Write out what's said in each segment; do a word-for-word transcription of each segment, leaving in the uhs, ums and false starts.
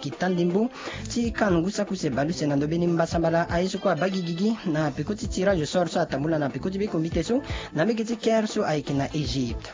Kita ndembo ti kanu ngu saki use baleuse na ndö mbeni mbasambala aye so kue abaa gigigi na peko ti tirage au sort so atambula na peko ti be comité so na mbege ti Caire so ayeke na Egypte.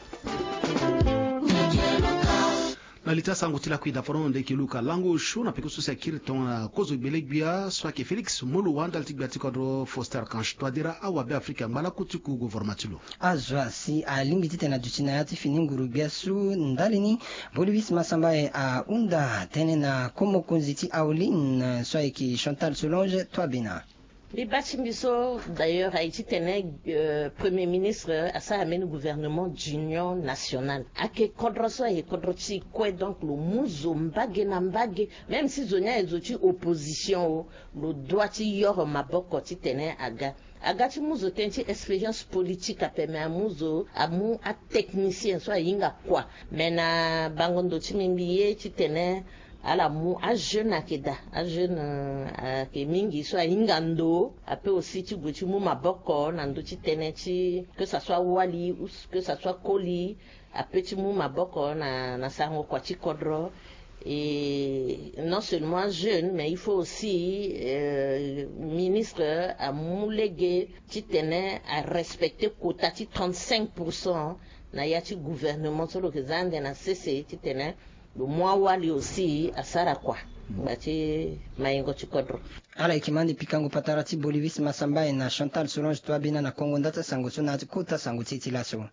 Na li ti asango ti lakui daporon nde yeke luka lango osio na peko so si akiri tongana kozo gbele-gbia so ayeke Félix Moloua ndali ti gbia ti kodro Faustin Archange Touadéra awabe Afrika angba lakue ti ku gouvernement ti lo. Azo asi alingbi titene aduti na ya ti fini nguru-gbia so ndali ni Bolivis Masambaye ahunda tënë na ko mokonzi ti Aoline so ayeke Chantal Solange Touabena. Mbi baa ti mbi so d'ailleurs aye titene euh, premier ministre asara mbeni gouvernement d'union nationale. Ayeke kodro so ayeke kodro ti kue, donc lo mu zo mbage na mbage. Même si zo ni aye zo ti opposition o, lo doit ti yoro maboko titene aga. Aga ti mu zo tënë ti expérience politique ape, me amu zo amu atechnicien so ahinga kua. Me na bango ndo ti mbi, mbi ye titene ala mu ajeune ayeke daa, ajeune euh, ayeke mingi so ahinga ndo ape aussi ti gue ti mu maboko na ndö ti tënë ti que ça soit wali ou que ça soit koli, ape ti mu maboko na, na sarango kua ti kodro. Et non seulement jeune, mais il faut aussi euh, ministre amu lege titene arespecte quota ti trente-cinq pour cent na ya ti gouvernement so lo yeke za ande na sese titene lo mu awali aussi asara kua ngba ti mayingo ti kodro. Ala yeke ma ande pikango patara ti Bolivis Masambaye na Chantal Solange Touabena na kongo nda ti asango so na ya ti kota sango ti e ti laso.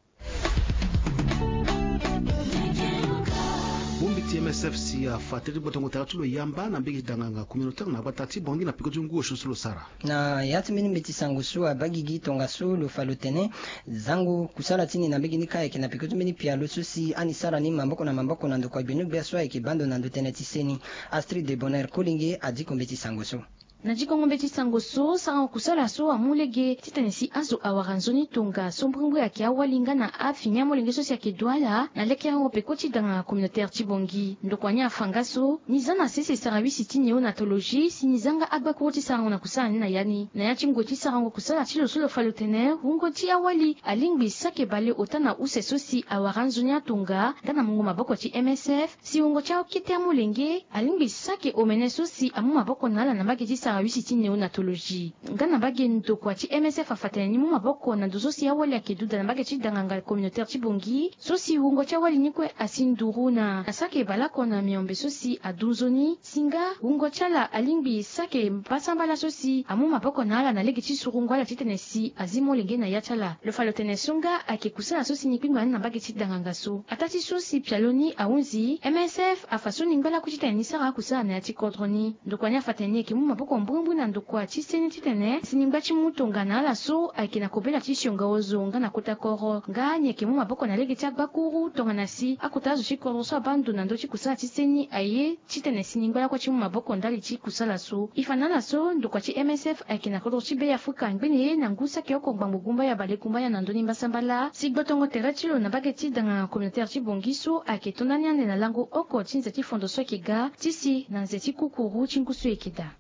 Bongbi ti M S F si afa tere ti gbotongo tere ti lo yamba na mbege ti danganga communautaire na gbata ti Bangui na peko ti ngu osio so lo sara. Na ya ti mbeni mbeti sango so abaa gigi tongaso lo fa lo tene zango kusala ti ni na mbege ni kâ ayeke na peko ti mbeni pialo so si ani sara ni maboko na maboko na ndokua gbenu-gbia so ayeke baa ndo na ndö tënë ti seni. Astrid de Bonheur Kolenge adiko mbeti sango so. Na dikongo mbeti sango so, sarango kusala so amu lege titene si azo awara nzoni tongaso mbrimbri ayeke awali nga na afini amolenge so si ayeke du ala na lekerengo peko ti danganga communautaire ti Bangui. Ndokua ni afa nga so ni za na sese sarawisi ti néonatologie si ni za nga agbakuru ti sarango na kusala ni na ya ni. Na ya ti ngoi ti sarango kusala ti lo so lo fa lo tene wungo ti awali alingbi sake bale ota na use so si awara anzoni atonga nga na mungo maboko ti M S F. Si wungo ti akete amolenge alingbi sake omene so si amu maboko na ala na mbage ti sarawisi ti néonatologie. Nga na mbage ndokua ti M S F afa tene ni mu maboko na ndo so si awali ayeke duda na mbage ti danganga communautaire ti Bangui so si wungo ti awali ni kue asi nduru na asake baleoko na miombe so si adu nzoni. Si nga wungo ti ala alingbi sake mbasambala so si amu maboko na ala na lege ti surungu ala titene si azi molenge na ya ti ala. Lo fa lo tene so nga ayeke kusala so si ni kpingba ni na mbage ti danganga so. Ataa ti so si pialo ni ahunzi, M S F afa so ni ngba lakue titene ni sara akusala na ya ti kodro ni. Ndokua ni afa tene ni yeke mu maboko mbrimbri na ndokua ti seni titene si ni ngba ti mu tongana ala so ayeke na kobela ti sionga ozo nga na kota koro. Nga ni yeke mu maboko na lege ti agbakuru tongana si akota azo ti kodro so abaa ndo na ndö ti kusala ti seni aye titene si ni ngba lakue ti mu maboko ndali ti kusala so. E fa na ala so ndokua ti M S F ayeke na kodro ti Beafrika ngbene ye na ngu saki oko ngbangbo gumbaya bale gumbaya na ndö ni mbasambala si gbotongo tere ti lo na mbage ti danganga communautaire ti Bangui so ayeke to ndani ande na lango oko ti nze ti fondo so ayeke ga ti si na nze ti kukuru ti ngu so e yeke daa.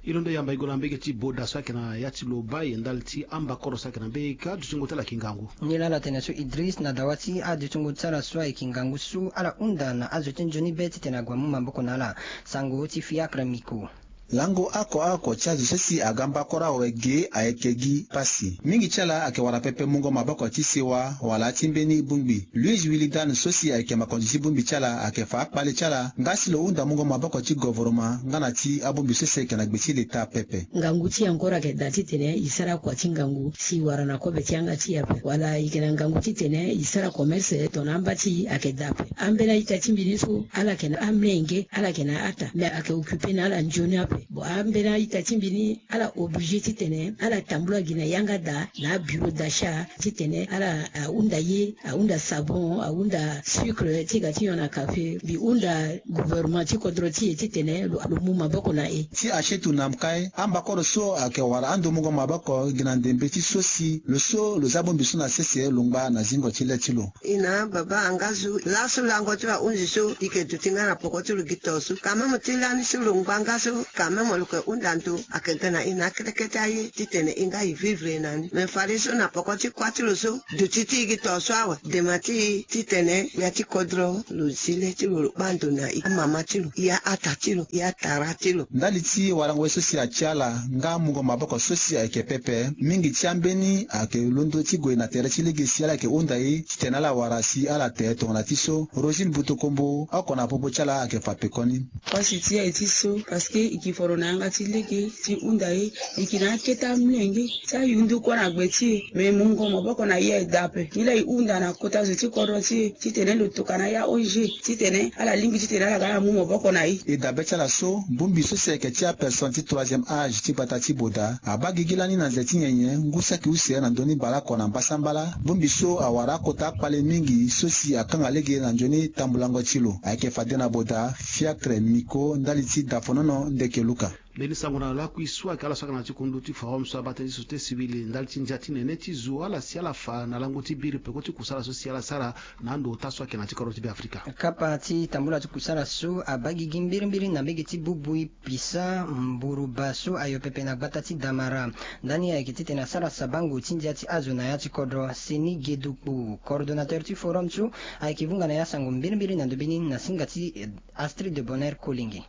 E londo yamba e gue na mbage ti Boda so ayeke na ya ti Lobaye ndali ti ambakoro so ayeke na mbage ka dutingo ti ala ayeke ngangu. Ni laa ala tene so Idriss na dawa ti adutingo ti ala so ayeke ngangu so ala hunda na azo ti nzoni be titene ague amu maboko na ala. Sango ti Fiacre Miko. Lango oko oko ti azo so si aga mbakoro awe ge ayeke gi pasi. Mingi ti ala ayeke wara pepe mungo maboko ti sewa wala ti mbeni bongbi. Louise Willy Dan so si ayeke makonzi ti bongbi ti ala ayeke fa akpale ti ala nga si lo hunda mungo maboko ti govoroma nga na ti abongbi so si ayeke na gbe ti leta pepe. Ngangu ti e encore ayeke daa titene e sara kua ti ngangu si e wara na kobe ti yanga ti e ape. Wala e yeke na ngangu titene e sara commerce tongana amba ti e ayeke daa ape. Ambeni a-ita ti mbi ni so ala yeke na amenge, ala yeke na ata, me ayeke occupe na ala nzoni ape. Bon, ambeni a-ita ti mbi ni ala oblige titene ala tambula gi na yanga daa na abureau d'achat titene ala ahunda ye, ahunda sabon, ahunda sucre ti ga ti nyon na café. Mbi hunda gouvernement ti kodro ti e titene lo, lo mu maboko na e. Ti Achetou Namkaye, ambakoro so ayeke wara ando mungo maboko gi na ndembe ti so si lo so lo za bongbi so na sese lo ngba na zingo ti le ti lo. E na baba angazu laso lango ti ahunzi so e yeke duti nga na poko ti lo gi to so. Quand même ti lani so lo ngba nga so Amemo lo yeke hunda ndo ayeke ga na e na akete kete aye titene e nga e vivre na ni. Me fade so na poko ti kuâ ti lo so duti ti e gi to so awe dema ti e titene ya ti kodro lo zi le ti lo lo kpâ ndo na e, amama ti lo, e a-ata ti lo, e atara ti lo. Ndali ti warango ye so si atia ala nga mungo maboko so si ayeke pepe, mingi ti ambeni ayeke londo ti gue na tere ti lege si ala yeke hunda e titene ala wara si ala te tongana ti so. Rosine Butokombo oko na popo ti ala ayeke fa pekoni. Pasi ti e aye ti so parce que e ke foro na yanga ti lege ti hunda e, e ke na akete amolenge ti ayundu kue na gbe ti e. Me mungo maboko na e aye daa ape. Nilaa e hunda na kota zo ti kodro ti e titene lo tokua na ya O N G titene ala lingbi titene ala ga ala mu maboko na e. E dabe ti ala so, bongbi so si ayeke ti apersone ti troisième âge ti gbata ti Boda abaa gigi lani na nze ti nyenye ngu saki use na ndö ni baleoko na mbasambala. Bongbi so awara akota akpale mingi so si akanga lege na nzoni tambulango ti lo. Ayeke fade na Boda, Fiacre Miko, ndali ti Dafonono Ndeke Luka. Mbeni sango na lakui so ayeke ala so ayeke na ya ti kundu ti forum so abaa tënë ti société civile ndali ti ndia ti nene ti zo, ala si ala fa na lango ti biri peko ti kusala so si ala sara na ando ota so ayeke na ya ti kodro ti Beafrika. Kapa ti tambula ti kusala so abaa gigi mbirimbiri na mbege ti Bubui, Pisa, Mburuba so ayo pepe na gbata ti Damara. Ndani ayeke titene asara sabango ti ndia ti azo na ya ti kodro. Seni Gedukpu, coordonnateur ti forum so, ayeke vunga na ya sango mbirimbiri na ndobeni na singa ti, eh, Astrid de Bonheur Kolenge.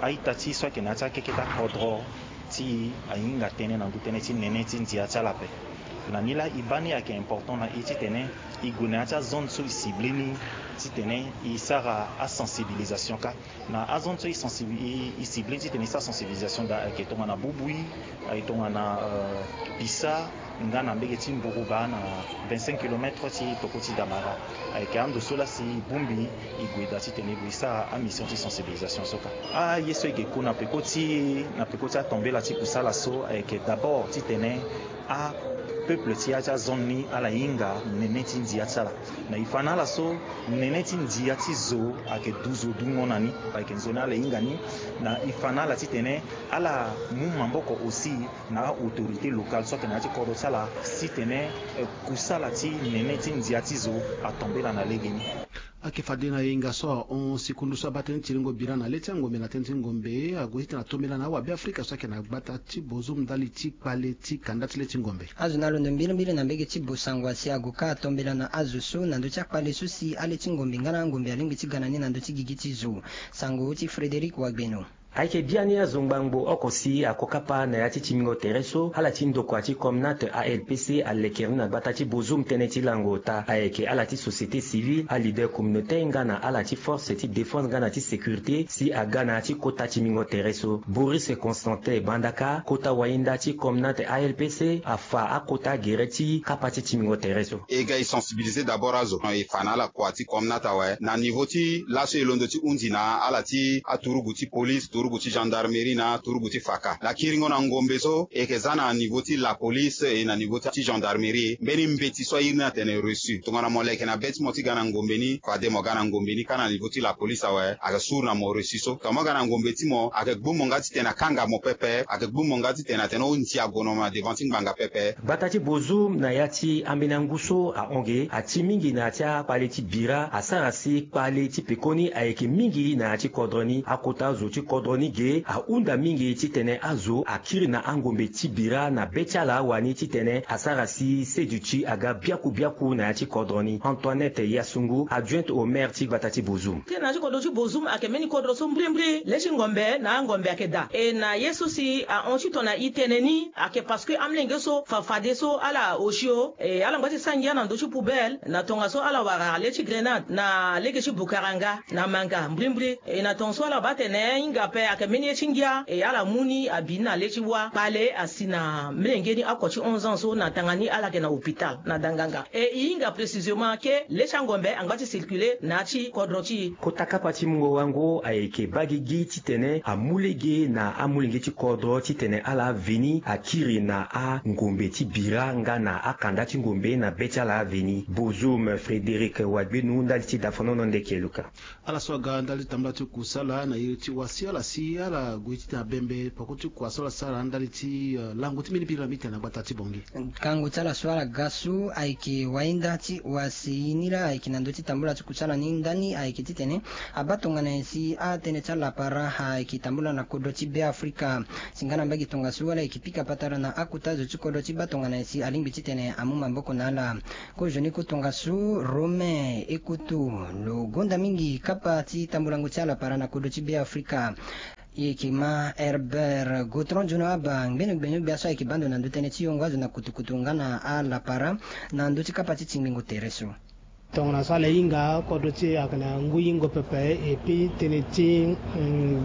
A-ita ti so ayeke na ya ti akeketa kodro ti e ahinga tënë na ngu tënë ti nene ti ndia ti ala ape. Na ni laa e baa ni ayeke important na e titene e gue na ya ti azone so e cible ni titene e sara asensibilisation kâ. Na azone so e sensibi-, e, e cible ni titene e sara sensibilisation daa ayeke tongana Bubui, ayeke tongana, euh, Pisa, nga na mbege ti Mburuba na vingt-cinq kilomètres ti toko ti Damara. Ayeke ando so laa si e bongbi e gue daa titene e gue e sara amission ti sensibilisation so kâ. Aye so e ke ku na peko ti, na peko ti atombela ti kusala so ayeke d'abord titene apeuple ti ya ti azone ni ala hinga nene ti ndia ti ala. Na e fa na ala so nene ti ndia ti zo ayeke du zo dungo na ni, ayeke nzoni ala hinga ni. Na e fa na ala titene ala mu maboko aussi na a-autorité locale so ayeke na ya ti kodro ti ala titene, eh, kusala ti nene ti ndia ti zo atombela na legeni. Ayeke fade na e hinga so ahon sikundu so abaa tënë ti lingo bira na le ti angombe na tënë ti ngombe ague titene atombela na awabe afrika so ayeke na gbata ti Bozoum ndali ti kpale ti kanda ti le ti ngombe. Azo na londo mbirimbiri na mbege ti Bosangwa si ague kâ atombela na azo so na ndö ti akpale so si ale ti ngombe nga na angombe alingbi ti ga na ni na ndö ti gigi ti zo. Sango ti Frédéric Wagbeno. Ayeke biani azo ngbangbo oko si ako kapa na ya ti timingo tere so, ala ti ndokua ti Comnat A L P C alekere ni na gbata ti Bozoum tënë ti lango ota. Ayeke ala ti société civile, aleader communautaire nga na ala ti force ti défense nga na ti sécurité si aga na ya ti kota timingo tere so. Boris Constantin Bandaka, kota wahinda ti Comnat A L P C, afa akota gere ti kapa ti timingo tere so. E ga e sensibiliser d'abord azo. E fa na ala kua ti Comnat awe na niveau ti laso e londo ti hunzi na ala ti aturugu ti police, turugu ti gendarmerie na turugu ti faka. Na kiringo na ngombe so e yeke za na niveau ti la police e na niveau ti gendarmerie. Mbeni mbeti so airi ni atene reçu. Tongana mo leke na be ti mo ti ga na ngombe ni, fade mo ga na ngombe ni kâ na niveau ti la police awe, ayeke suru na mo reçu so. Tongana mo ga na ngombe ti mo, ayeke gbu mo nga titene akanga mo pepe, ayeke gbu mo nga titene atene o ndia gue na mo na devant ti ngbanga pepe. Gbata ti Bozoum na ya ti ambeni angu so ahon ge, ati mingi na ya ti akpale ti bira, asara si kpale ti pekoni ayeke mingi na ya ti kodro ni. Akota zo ti kodro ni ge ahunda mingi titene azo akiri na angombe ti bira na be ti ala wani titene asara si seduti aga biaku biaku na ya ti kodro ni. Antoinette Yasungu, adjointe au maire ti gbata ti Bozoum. Tënë na ya ti kodro ti Bozoum ayeke mbeni kodro so mbrimbri, le ti ngombe na angombe ayeke daa. E na ye so si ahon titene e tene ni, ayeke parce que amolenge so fa fadeso ala osio, e ala ngba ti sara ngia na ndö ti poubelle na tongaso ala wara le ti grenade na lege ti Bukaranga na Manga mbrimbri. E na tongaso ala baa atene e hinga ape ayeke mbeni ye ti ngia, e ala mu ni abi ni na le ti wâ. Kpale asi na molenge ni oko ti onze ans so na tanga ni ala yeke na hôpital na danganga. E e hinga précisément ke le ti angombe angba ti circuler na ya ti kodro ti e. Kota kapa ti mungo wango ayeke baa gigi titene amu lege na amolenge ti kodro titene ala veni akiri na angombe ti bira nga na akanda ti ngombe na be ti ala veni. Bozoum, Frédéric Wagbenu, ndali ti Dafonono Ndeke Luka. Ala so aga ndali ti tambula ti kusala na iri ti wasi ala Si ala gue ti tena bembe poko ti kua so ala sara ndali ti lango ti mbeni biri na mbi tena na gbata ti Bongi. Kango ti ala so ala ga so ayeke wainda ti wasi ni laa ayeke na ndö ti tambula ti kusa na ni ndani ayeke titene abaa tongana nyen si atënë ti alapara ayeke tambula na kodro ti Be Afrika. Si nga na mbage tongaso ala yeke pika patara na akota zo ti kodro ti baa tongana nyen si alingbi titene amu maboko na ala. Kozoni kotongaso Romain Ekoto lo gonda mingi kapa ti tambulango ti alapara na kodro ti Be Afrika. E yeke ma Herbert Gotron Jono Aba ngbene gbene gbia so ayeke baa ndo na ndö tënë ti yongo azo na kutukutu nga na alapara na ndö ti kapa ti tingbingo tere so. Tongana so ala hinga kodro ti e ayeke na ngui hingo pepe. Et puis tënë ti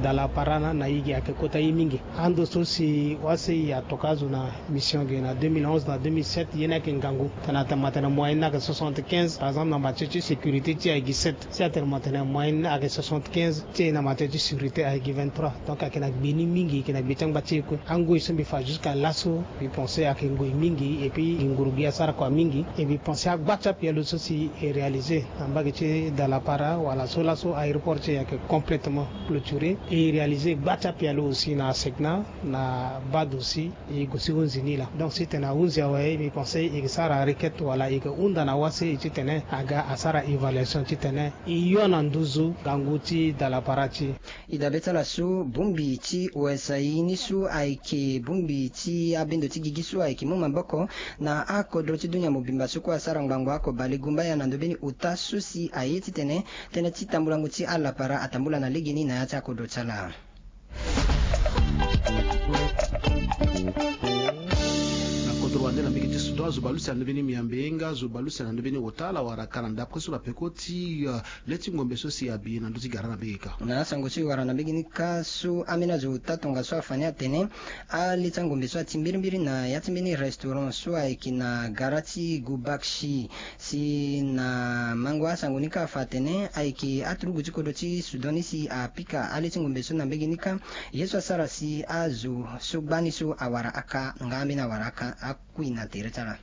dala para na na e gi ayeke kota ye mingi. Ando so si wase e atoka azo na mission ge na deux mille onze na deux mille sept ye ni ayeke ngangu. Tena tena ma tene moyenne ni ayeke soixante-quinze par exemple na matière ti sécurité ti e ayeke sept. Si atene ma tene moyenne ni ayeke soixante-quinze ti e na matière ti sécurité ayeke vingt-trois. Donc ayeke na gbe ni mingi, ayeke na gbe ti angba ti e kue. Angoi so mbi fa jusqu'à laso mbi pense ayeke ngoi mingi. Et puis gi nguru gi asara kua mingi. Et mbi pense agba ti apialo so si e réalisé na mbage ti dala para wala so laso aéroport ti e ayeke complètement clôturé. E réalisé gba ti apialo aussi na asegna na bado aussi. E gue si hunzi ni laa. Donc si tene ahunzi awe, e mbi pense e yeke sara requête wala e yeke hunda na wase e titene aga asara évaluation titene e yo na nduzu ngangu ti dala para ti e. E dabe ti ala so bongbi ti O S A I ni so ayeke bongbi ti abendo ti gigi so ayeke mu maboko na akodro ti dunia mobimba so kue asara ngbangbo ako bale gumbaya na ndö mbeni ota so si aye titene tënë ti tambulango ti alapara atambula na legeni na ya ti akodro ti ala. Na kodro wande na mbege ti Soudan azo bale use na ndö mbeni miambe nga azo bale use na ndö mbeni ota ala wara ka na ndapre so na peko ti le ti ngombe so si abi na ndö ti gara na mbege kâ. Na asango so e wara na mbege ni kâ so ambeni azo ota tongaso afa ni atene ale ti angombe so ati mbirimbiri na ya ti mbeni restaurant so ayeke na gara ti Gubakshi. Si na mango asango ni kâ afa atene ayeke aturugu ti kodro ti Soudan ni si apika ale ti ngombe so na mbege ni kâ. Ye so asara si azo so gbani so awara aka nga ambeni awara aka akui na tere ti ala.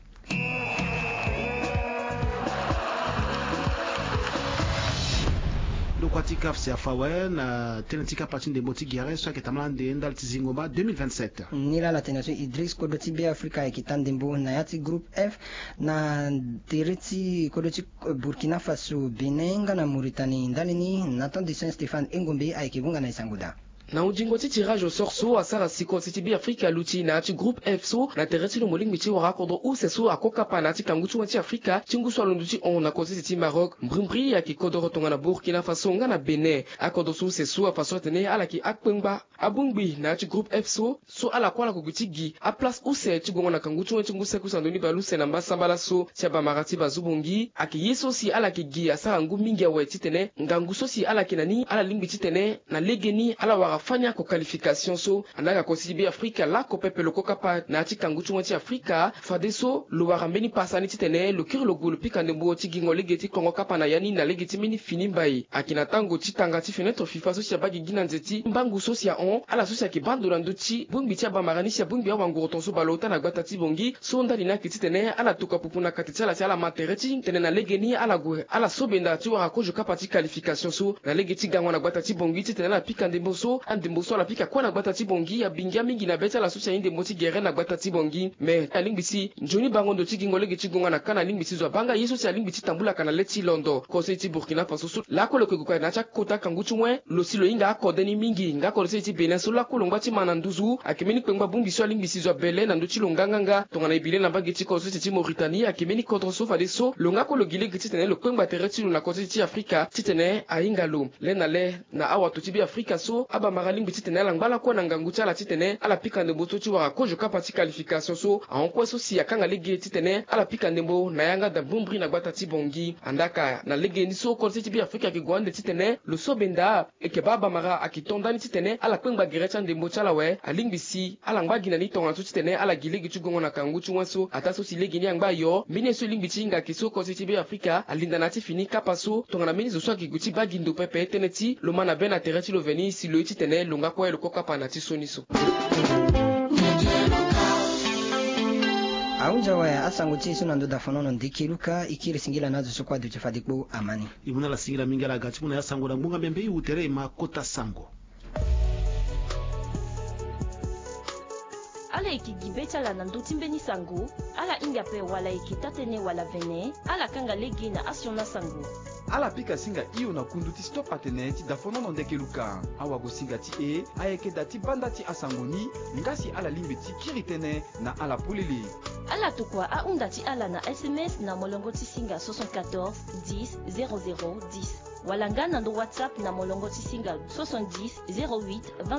Ndokua ti CAF si afa awe na tënë ti kapa ti ndembo ti gere so ayeke tambala ande ndali ti zingo ma deux mille vingt-sept. Ni laa ala tene so Idriss kodro ti Be Afrika ayeke taa ndembo na ya ti groupe F na tere ti kodro ti Burkina Faso, Bénin nga na Mauritanie. Ndali ni Nathan de Saint Stéphane Engombe ayeke hunga na e sango daa. Na hunzingo ti tirage au sort so asara si kodro ti Be Afrika aluti na ya ti groupe F so na tere ti lo mo lingbi ti wara akodro use so ako kapa na ya ti kangu ti wen ti Afrika ti ngu so alondo ti hon na kodro ti Maroc. Mbrimbri ayeke kodro tongana Burkina Faso nga na Bénin. Akodro so use so afa so atene ala yeke akpengba abongbi na ya ti groupe F so. So ala kue ala ko gi ti gi aplace use ti gongo na kangu ti wen ti ngu saki use na ndoni bale use na mbasambala so ti abamara ti bazu bongi ayeke ye so si ala yeke gi asara ngu mingi awe titene ngangu so si ala yeke na ni ala lingbi titene na legeni ala wara fani ako qualification so. Andaa kodro ti Be Afrika lako pepe lo ko kapa na ya ti kangu ti wen ti Afrika fadeso lo wara mbeni pasa ni titene lo kiri lo gue lo pika ndembo ti gingo lege ti kongo kapa na ya ni na lege ti mbeni fini mbai. Ayeke na tango ti tanga ti fenêtre FIFA so si abaa gigi na nze ti mbangu so si ahon ala so si ayeke baa ndo na ndö ti bongbi ti abamara ni si abongbi awanguru tongaso baleota na gbata ti Bongi so ndali ni ayeke titene ala tokua pupu na kati ti ala si ala ma tere ti tene na legeni ala gue ala so benda ti wara kozo kapa ti qualification so na lege ti gango na gbata ti Bongi titene ala pika ndembo so andembo so ala pika kue na gbata ti Bongi abingia mingi na be ti ala so si aye ndembo ti gere na gbata ti Bongi. Me alingbi si nzoni bango ndo ti gingo lege ti gonga na ka na alingbi si zo abaa nga ye so si alingbi ti tambula ka na le ti londo. Kodro ti Burkina Faso so lakue lo yeke gue ka na ya ti akota kangu ti wen lo si lo hinga akode ni mingi nga kodro ti Bénin so lakue lo ngba ti ma na nduzu ayeke mbeni kpengba bongbi so alingbi si zo abele na ndö ti lo nganganga. Tongana e bi le na mbage ti kodro ti Mauritanie ayeke mbeni kodro so fadeso lo nga kue lo gi lege titene lo kpengba tere ti lo na kodro ti Afrika titene ahinga lo. Le na le na awato ti Be Afrika so abamara alingbi titene ala ngba lakue na ngangu ti ala titene ala pika ndembo so ti wara kozo kapa ti qualification so ahon kue so si akanga lege titene ala pika ndembo na yanga da mbrimbri na gbata ti Bongi. Andaa ka na lege ni so kodro ti Be Afrika ayeke gue ande titene lo so benda e yeke baa abamara ayeke to ndani titene ala kpengba gere ti andembo ti ala awe alingbi si ala ngba gi na ni tongana so titene ala gi lege ti gongo na kangu ti wen so ataa so si lege ni angba ayo mbeni ye so e lingbi ti hinga ayeke so kodro ti Be Afrika alinda na ya ti fini kapa so tongana mbeni zo so ayeke gue ti baa gi ndo pepe tënë ti lo ma na be na tere ti lo veni si lo ye titene lo nga kue lo ko kapa na ti sioni so. Ahunzi awe asango ti e so na ndo dafonono ndeke luka e kiri singila na azo so kue aduti fade kpo ama ni. E mu na ala singila mingi ala ga ti mu na ya sango na ngbonga mbembe e wu tere e ma kota sango. Ala yeke gi be ti ala na ndö ti mbeni sango. Ala hinga ape wala ayeke taa-tënë wala vene, ala kanga lege na asioni asango. Ala pika singa hio na kundu ti stop atene ti dafonono ndeke luka. Awagosinga ti e ayeke da ti banda ti asango ni. Nga si ala lingbi ti kiri tënë na ala polele. Ala tokua ahunda ti ala na sms na molongo ti singa soixante-quatorze dix zéro zéro dix, wala nga na ndö whatsapp na molongo ti singa soixante-dix zéro huit vingt-neuf.